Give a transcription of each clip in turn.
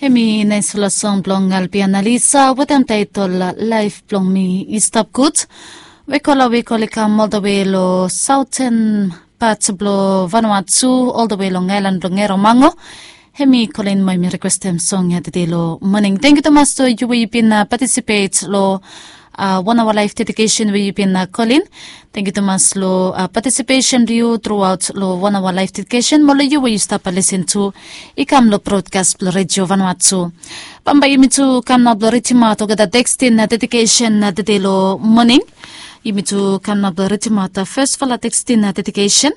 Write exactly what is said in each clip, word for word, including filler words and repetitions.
Em i naispela song bilong Alpian Alisa wetem taitol Laif bilong mi i stap gut. We kola we kol i kam oldawe long sauten pat bilong Vanuatu oldawe long ailan bilong Eromango. Em i kolin moa em i rekwestem song ya tede long moning. Tengyu tumas long yu we yu bin patisipet long wan awa laif dedikesen we yu bin kolin. Tengyu tumas long patisipesen bilong yu truaut long wan awa laif dedikesen mo long yu we yu stap lisin tu i kam long brodkas bilong redio Vanuatu. Bambae yumi tu kam nao bilong ritimaot olgeta tekstin dedikesen tede long moning. Yumi tu kam nao bilong ritimaot fesfala tekstin dedikesen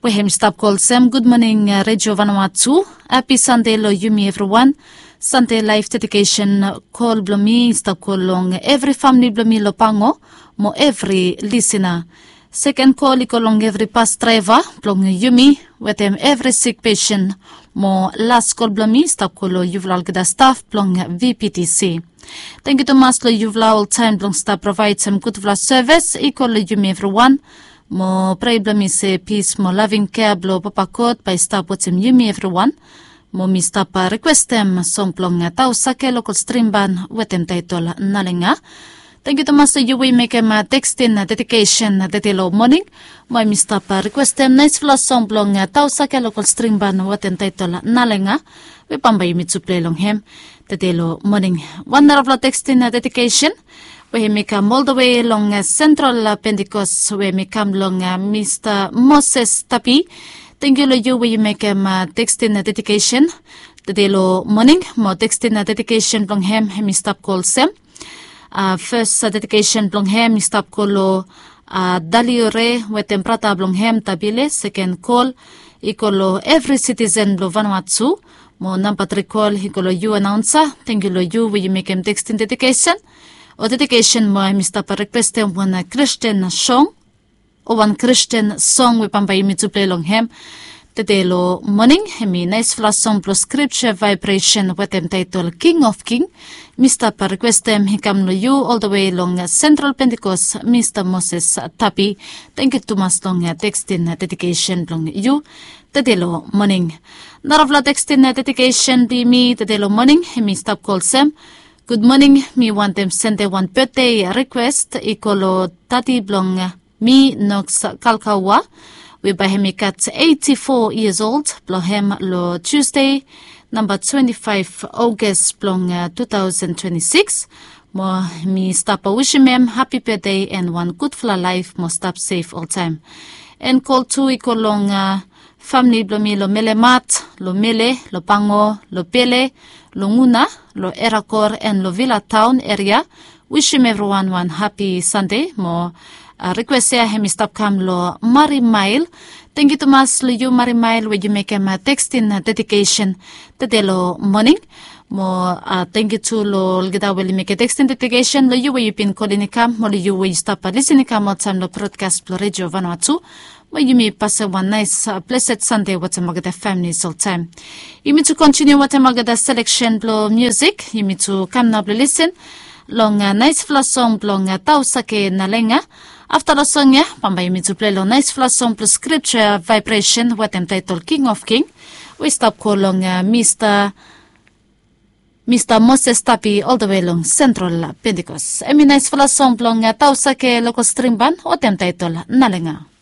we hem i stap kol olsem, gud moning redio Vanuatu. Hapi Sande long yumi evriwan. Sande laif dedikesen kol bilong mi i stap kol long evri famili bilong mi long Pango mo evri lisina. Seken kol i go long evri bas draiva bilong yumi wetem evri sik pesen. Mo las kol bilong mi i stap kol long yufala olgeta staf bilong V P T C. Tengyu tumas long yufala oltaem bilong stap provaidim gutpela sevis i go long yumi evriwan. Mo prea bilong mi se pis mo laving kea bilong Papa God bai i stap wetem yumi evriwan. Mo mi stap rekwestem song bilong Tausake Lokol Strimban wetem taitol Nalenga. Tengyu tumas long yu we yu mekem tekstin dedikesen tede long moning. Mo mi stap rekwestem naispela song bilong Tausake Lokol Strimban wetem taitol Nalenga. We bambae yumi tu pilai long hem tede long moning. Wan narapela tekstin dedikesen we hem i kam oldawe long Sentral Pentikos we hem i kam long Mista Moses Tapi. Tengyu long yu we yu mekem tekstin dedikesen tede long moning. Mo tekstin dedikesen bilong hem hem i stap kol olsem. Fes dedikesen bilong hem i stap kol long Daliore wetem brata bilong hem Tabile. Seken kol i go long evri sitisen bilong Vanuatu. Mo namba tri kol i go long yu anaunsa. Tengyu long yu we yu mekem tekstin dedikesen o dedikesen mo hem i stap rekwestem wan Kristen song o wan Kristen song we bambae yumi tu pilai long hem tede long moning. Hem i naispela song bilong Skripsa Vaibresen wetem taitol King of King. Mi stap rekwestem i kam long yu oldawe long Sentral Pentikos Mista Moses Tapi. Tengyu tumas long tekstin dedikesen bilong yu tede long moning. Narapela tekstin dedikesen bilong mi tede long moning hem i stap kol olsem. Gud moning, mi wantem sende wan betde rikwes i go long dadi bilong mi Noks Kalkaua we bae hem i gat eiti fo yias old bilong hem long Tusde namba twenti faiv Ogos bilong tu taosen twenti sikis. Mo mi stap wisim hem hapi betde en wan gudfala laef mo stap sef oltaem. En kol tu i go long famili bilong mi long Melemat, long Mele, long Pango, long Pele, long Nguna, long Erakor en long Vila Taon eria. Wisim evriwan wan hapi Sande mo rikwes ya hem i stap kam long Mari Mael. Tengyu tumas long yu Mari Mael we yu mekem tekstin dedikesen tede long moning. Mo tengyu tu long olgeta we oli mekem tekstin dedikesen long yu we yu bin kolin i kam mo long yu we yu stap lisin i kam oltaem long brodkas bilong redio Vanuatu. Mo yumi pasem wan nais blesed Sande wetem olgeta familis oltaem. Yumi tu kontiniu wetem olgeta seleksen bilong musik. Yumi tu kam nao bilong lisin long naispela song bilong Tausake Nalenga. Afta long song ya bambae yumi tu pilai long naispela song bilong Skripsa Vaibresen wetem taitol King of King we i stap go long Mista Mista Moses Tapi oldawe long Sentral Pentikos. Em i naispela song bilong Tausake Lokol Strimban wetem taitol Nalenga.